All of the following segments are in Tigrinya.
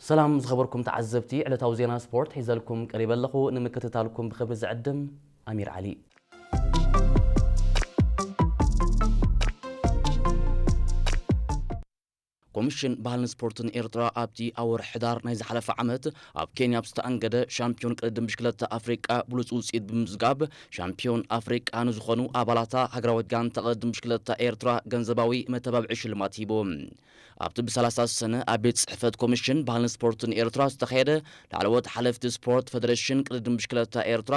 ሰላም ዝኸበርኩም ተዓዘብቲ፣ ዕለታዊ ዜና ስፖርት ሒዘልኩም ቀሪበ ኣለኹ። ንምክትታልኩም ብኽብሪ ዝዕድም ኣሚር ዓሊ። ኮሚሽን ባህልን ስፖርትን ኤርትራ ኣብቲ ኣብ ወርሒ ሕዳር ናይ ዝሓለፈ ዓመት ኣብ ኬንያ ኣብ ዝተኣንገደ ሻምፒዮን ቅድድም ብሽክለታ ኣፍሪቃ ብሉጽ ውጽኢት ብምምዝጋብ፣ ሻምፒዮን ኣፍሪቃ ንዝኾኑ ኣባላታ ሃገራዊት ጋንታ ቅድድም ብሽክለታ ኤርትራ ገንዘባዊ መተባብዒ ሽልማት ሂቡ። ኣብቲ ብ30 ሰነ ኣብ ቤት ጽሕፈት ኮሚሽን ባህልን ስፖርትን ኤርትራ ዝተኻየደ ላዕለዎት ሓለፍቲ ስፖርት ፈደረሽን ቅድድም ብሽክለታ ኤርትራ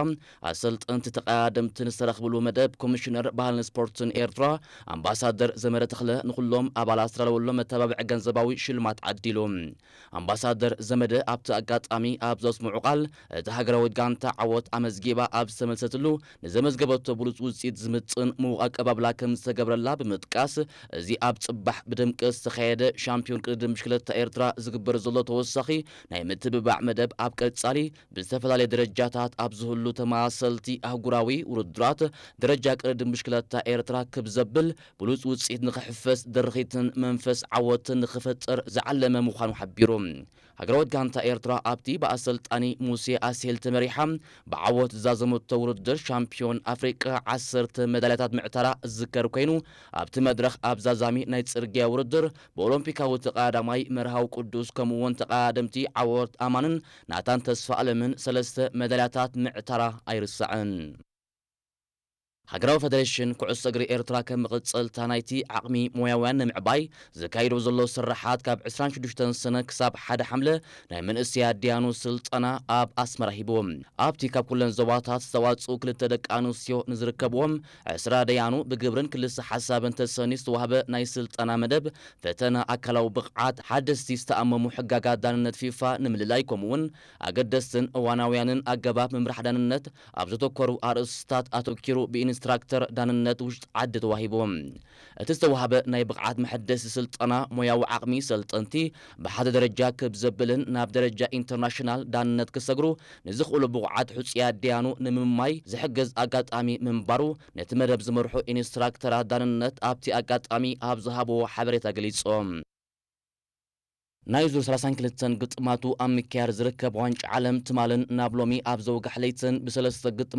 ኣሰልጠንቲ ተቐዳደምትን ዝተረኽብሉ መደብ፣ ኮሚሽነር ባህልን ስፖርትን ኤርትራ ኣምባሳደር ዘመደ ተኽለ ንኹሎም ኣባላት ዝተዳለወሎም መተባብዒ ገንዘባዊ ሽልማት ዓዲሉ። ኣምባሳደር ዘመደ ኣብቲ ኣጋጣሚ ኣብ ዘስምዑ ቃል፣ እቲ ሃገራዊት ጋንታ ዓወት ኣመዝጊባ ኣብ ዝተመልሰትሉ ንዘመዝገበቶ ብሉጽ ውጽኢት ዝምጥን ምዉቕ ኣቀባብላ ከም ዝተገብረላ ብምጥቃስ፣ እዚ ኣብ ጽባሕ ብድምቀት ዝተኻየደ ሻምፒዮን ቅድድም ብሽክለታ ኤርትራ ዝግበር ዘሎ ተወሳኺ ናይ ምትብባዕ መደብ ኣብ ቀጻሊ ብዝተፈላለየ ደረጃታት ኣብ ዝህሉ ተመሳሰልቲ ኣህጉራዊ ውድድራት ደረጃ ቅድድም ብሽክለታ ኤርትራ ክብ ዘብል ብሉጽ ውጽኢት ንኽሕፈስ ድርኺትን መንፈስ ዓወትን ንኽፈጥር ዝዓለመ ምዃኑ ሓቢሩ። ሃገራዊት ጋንታ ኤርትራ ኣብቲ ብኣሰልጣኒ ሙሴ ኣስሄል ተመሪሓ ብዓወት ዝዛዘመቶ ውድድር ሻምፒዮን ኣፍሪቃ ዓሰርተ መዳልያታት ምዕታራ ዝዝከር ኮይኑ፣ ኣብቲ መድረኽ ኣብ ዛዛሚ ናይ ጽርግያ ውድድር ብኦሎምፒካዊ ተቐዳዳማይ መርሃዊ ቅዱስ ከምኡ'ውን ተቐዳደምቲ ዓወት ኣማንን ናታን ተስፋ ኣለምን ሰለስተ መዳልያታት ምዕታራ ኣይርሳዕን። ሃገራዊ ፈደሬሽን ኩዕሶ እግሪ ኤርትራ ከም መቐጸልታ ናይቲ ዓቕሚ ሞያውያን ንምዕባይ ዘካይዶ ዘሎ ስራሓት ካብ ዕስራን ሽዱሽተን ሰነ ክሳብ ሓደ ሓምለ ናይ መንእሰያት ደያኑ ስልጠና ኣብ ኣስመራ ሂቡ። ኣብቲ ካብ ኩለን ዞባታት ዝተዋጽኡ ክልተ ደቂ ኣንስትዮ ንዝርከብዎም ዕስራ ደያኑ ብግብርን ክልሰ ሓሳብን ተሰንዩ ዝተዋህበ ናይ ስልጠና መደብ ፈተና ኣካላዊ ብቕዓት፣ ሓደስቲ ዝተኣመሙ ሕጋጋት ዳንነት ፊፋ ንምልላይ ከምኡ'ውን ኣገደስትን እዋናውያንን ኣገባብ ምምራሕ ዳንነት ኣብ ዘተኮሩ ኣርእስታት ኣተኪሩ ብኢንስትራክተር ዳንነት ውሽጢ ዓዲ ተዋሂቡ። እቲ ዝተዋህበ ናይ ብቕዓት መሐደሲ ስልጠና ሞያዊ ዓቕሚ ሰልጠንቲ ብሓደ ደረጃ ክብ ዘብልን ናብ ደረጃ ኢንተርናሽናል ዳንነት ክሰግሩ ንዝኽእሉ ብቑዓት ሕጹያት ደያኑ ንምምማይ ዝሕግዝ ኣጋጣሚ ምንባሩ ነቲ መደብ ዝመርሑ ኢንስትራክተራት ዳንነት ኣብቲ ኣጋጣሚ ኣብ ዝሃብዎ ሓበሬታ ገሊጾም። ናይ ዙር ሰላሳን ክልተን ግጥማቱ ኣብ ምክያድ ዝርከብ ዋንጫ ዓለም ትማልን ናብ ሎሚ ኣብ ዘውጋሕ ለይትን ብሰለስተ ግጥማት